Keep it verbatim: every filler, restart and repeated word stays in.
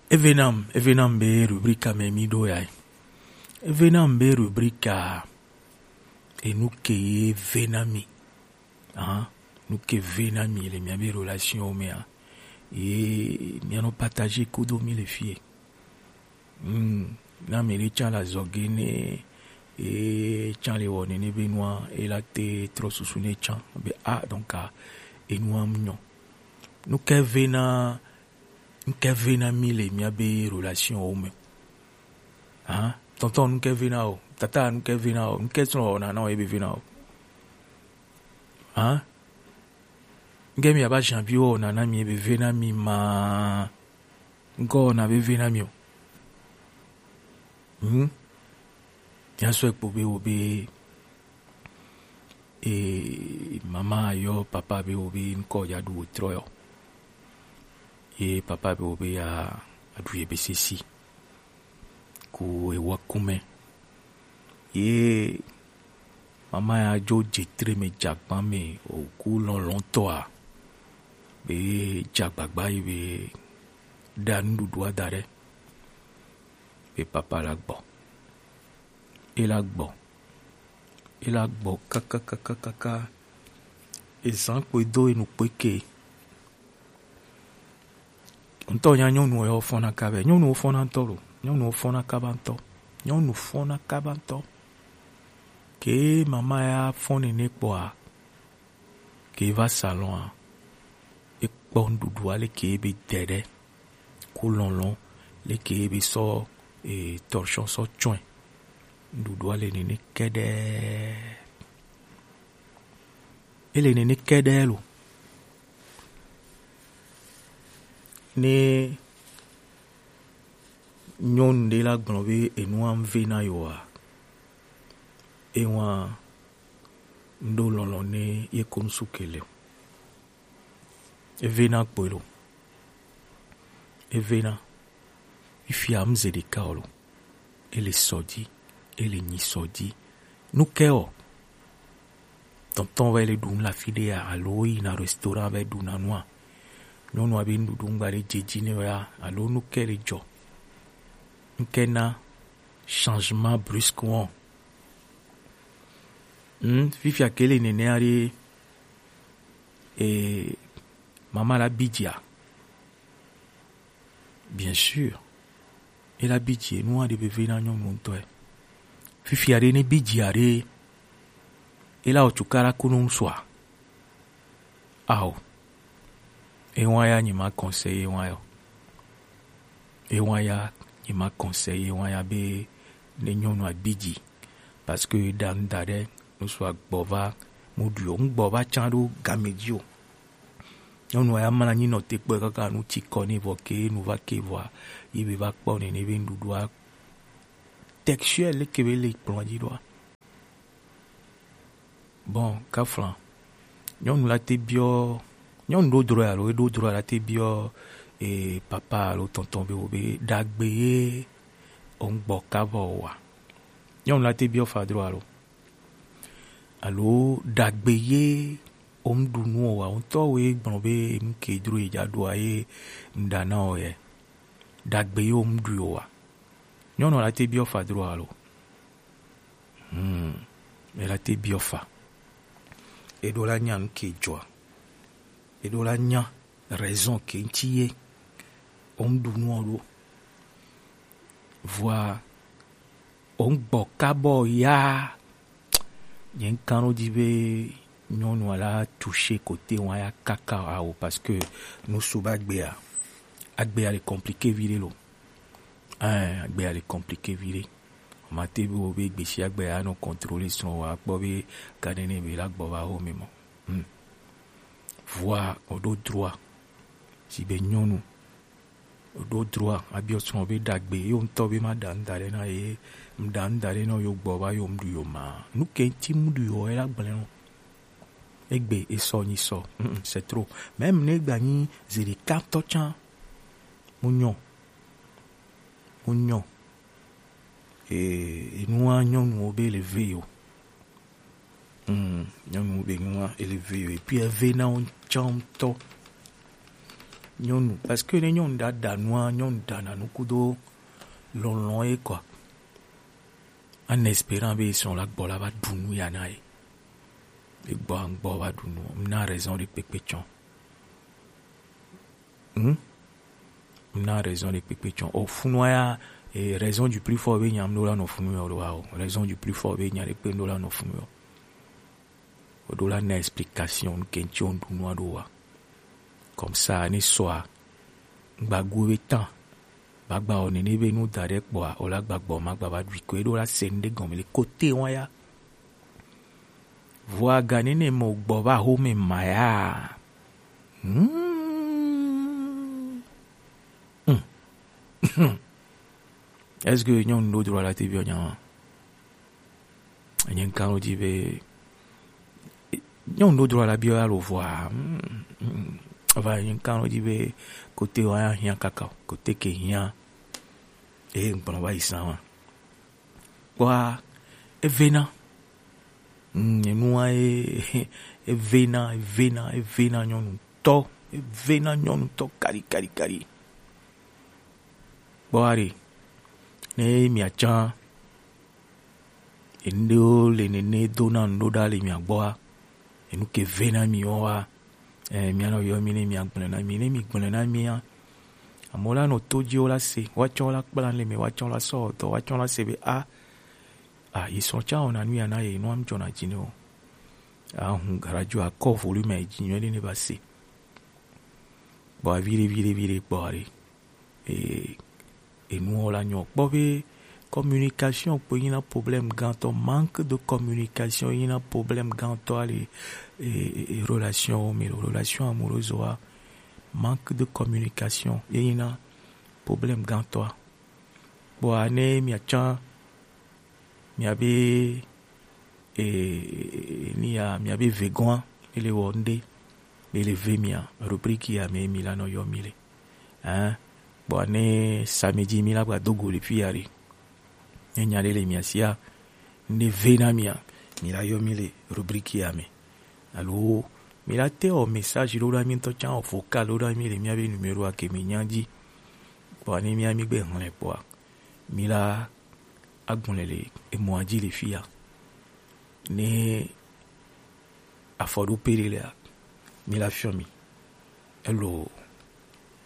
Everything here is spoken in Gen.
Eve nam, eve nam be rubrika me mi ɖo ya. Eve nam be rubrika enu ke ye ve na mi. Ahan, nu ke ve na mi le miabe relation mea, ye mianɔ partager kudo mi le fie. Hmm, na mi ɖe tsã la zɔge ne e tsã le wɔ nene be nua e la te trɔ susu ne tsã be ah, donc ah, enua mu nyɔ. Nu ke ve na Nu ke ve na mi le miabe relation wo me? Hã? Tonton, nu ke ve na o? Tata, nu ke ve na o? Nu ke srɔ̃ wɔna na o ebe ve na o? Hã? Nu ke mi aba janvier wɔna na mi ebe ve na mi ma? Nu ke wɔna be ve na mi o? Hmm? Mia sɔe kpo be wo be e mama yɔ papa be wo be ŋkɔ ya ɖu wòtrɔ yɔ. Ye papa be wo be ya aɖu ye be sesi ku ewɔ kume. Ye mama ya dzo dze tre me dze agba me o ku lɔlɔ̃tɔa be dze agbagba yi be ɖa nuɖuɖua da ɖe be papa la gbɔ. E la gbɔ. E la gbɔ kakakakaka. Ezan kpoe do enu kpoe ke. Ŋutɔ nya nyɔnu yɔ fɔna kaba. Nyɔnuwo fɔna ŋutɔ lo. Nyɔnuwo fɔna kaba ŋutɔ. Nyɔnu fɔna kaba ŋutɔ. Ke mama ya fɔ nene kpɔa, ke va salon a, e kpɔ nuɖuɖu ale ke be dɛ ɖe ku lɔlɔ̃ leke ye be sɔ e, torchon sɔ tsɔe. Nuɖuɖua le nene kɛɖɛ. Ele nene kɛɖɛ lo. Ne nyɔnu ɖe la gblɔ be enua ŋve na yewoa, ewa ŋɖo lɔlɔ̃ ne ye ko ŋsu ke le o. Evena kpoe lo. Evena. Fifia mze ɖeka o lo. Ele sɔ dzi. Ele nyi sɔ dzi. Nu ke o? Tɔntɔn va le ɖu nu le afi ɖea alo woyina restaurant va ɖuna nua? Nyɔnua be nuɖuɖu ŋgba ɖe dze dzi nɛ o ya alo nu ke le dzɔ? Nu ke na changement brusque wɔn? Hmm, fifia ke le nenea ɖe, e, mama la bi dzia? Bien sûr. E la bi dzi, enua ɖe veve na nyɔnu ŋutɔ. Fifia ɖe ne bi dzia ɖe, e la wɔ cukaɖa ku no ŋsua. Ao. Ewa ya nyi ma conseiller ewa ya o. Ewa ya nyi ma conseiller ewa ya be ne nyɔnua bi dzi. Parce que ɖa nu da ɖe, ŋsua gbɔ va mu ɖui o. Ŋgbɔ va tsã ɖo game dzi o. Nyɔnua ya mla anyi nɔ te kpɔe kaka nu tsi kɔ nɛ vɔ ke nu va ke vɔa, ye be va kpɔ nene be nuɖuɖua texture leke be le kplɔ̃a dzi ɖoa. Bon, kafla. Nyɔnu la te biɔ, nyɔnu ɖo drɔe alo eɖo drɔe la te biɔ e papa alo tɔntɔn be wo be ɖagbe ye o ŋgbɔ kaba o wa? Nyɔnu la te biɔ fa drɔe alo? Alo ɖagbe ye o ŋɖu nu o wa? Ŋutɔ wo ye gblɔ be nu ke dro ye dza ɖoa ye ŋɖa na o ye. Ɖagbe ye o ŋɖui o wa? Nyɔnu la te biɔ fa dro alo? Hmm, e la te biɔ fa. Eɖo la nya nu ke dzɔa. Eɖo la nya raison ke ŋti ye o ŋɖu nu o ɖo. Vɔa o ŋgbɔ kabɔ ya. Nye ŋkan ɖo dzi be nyɔnua la toucher côté wa ya kaka awo parce que nu su ba agbea, agbea le compliqué viɖe lo. Ɛn, agbea le compliqué viɖe. Mate be wo be gbesi agbea anɔ contrôler srɔ̃ wa kpɔ be ga nene be la gbɔ va wo me mɔ. Hmm. Vɔa o ɖo droit si be nyɔnu o ɖo droit abiɔ srɔ̃ be ɖagbe yo ŋutɔ be ma ɖa nu da ɖe na ye, ŋɖa nu da ɖe na yo gbɔ va yo ŋɖu yo ma. Nu ke ŋti ŋɖu yo e la gblẽ no. Egbe e sɔ nyi sɔ. Mm, c'est trop. Même ne gba nyi zi ɖeka tɔ tsã. Mu nyɔ. Mu nyɔ. E, enua nyɔnuwo be le ve yo. Hmm, nyɔnu be nua ele ve yo. Et puis eve na wo tsã ŋutɔ. Nyɔnu, parce que ne nyɔnu ɖa ɖa nua, nyɔnu ɖa na nu kudo lɔlɔ ye quoi. En espérant be son la gbɔ la va ɖu nu ya na ye. E gbɔ gbɔ va ɖu nu. Na raison de kpekpe tsɔ. Hmm? Na raison de kpekpe tsɔ. O funua ya, eh, raison du plus fort be nyam do la no funu yo wa o. Raison du plus fort be nya de kpe do la no funu yo. O do la na explication ke ntsi o ɖu nua ɖo wa. Comme ça, ne soit, gba gu be tan. Ba gba o nene be nu da ɖe kpɔa, o la gba gbɔ ma gba va ɖui ko e do la se nu ɖe gɔme le côté wa ya. Vɔa ga nene mo gbɔ va home ma ya. Hmm. Hmm. Est-ce que nyɔnu ɖo droit la te biɔ nya? Nye ŋkan ɖo dzi be nyɔnu ɖo droit la biɔ ya lo vɔa. Hmm, hmm. Enfin, nye ŋkan ɖo dzi be côté wa ya hiã kaka o, côté ke hiã. E ŋkplɔ va yi sa wa. Kpɔa, evena. Mm, enua e, evena, evena, evena nyɔnu tɔ, evena nyɔnu tɔ kali, kali, kali. Kpɔa ɖe, ne mia tsã, enu ɖewo le nene do na nu ɖo ɖa le mia gbɔa, enu ke vena mi wa, eh, mia nɔ yɔ mi ne mia gblɔ na mi, ne mi gblɔ na mia, amewo la nɔ to dzi wo la se, woatsɔ la kpla le me, woatsɔ la sɔ dɔ, woatsɔ la se be a, a, yi sɔ tsã wɔna nu ya na ye, nua mi dzɔna dzi ne o. Ahun garadzo akɔ volume yi dzi nyuie ɖe ne va se. Kpɔ viɖe, viɖe, viɖe kpɔ ɖe. E, enuwo la nyɔ kpɔ be communication kpo yina problème gãtɔ, manque de communication yina problème gãtɔ ali e, e, e, relation wo me, relation amoureuse wa, manque de communication ye yina problème gãtɔa. Kpɔa ne miatsã miabe, e, e, ni ya miabe vegɔa, ele wɔ ŋɖe, ele ve mia rubrique ya me mi la nɔ yɔ mi le. Hein? Kpɔa ne samedi mi la gba do go le fi ya ɖe. Ne nya ɖe le mia sia, ne ve na mia, mi la yɔ mi le rubrique ya me. Alo mi la te wɔ message ɖo ɖa mi ŋutɔ tsã wɔ vocal ɖo ɖa mi le miabe numéro a ke mi nya dzi. Kpɔa ne mia mi gbe hlẽ kpɔa, mi la agblɔe le emɔa dzi le fi ya. Ne afɔɖoƒe ɖe lea, mi la fiɔ mi. Elo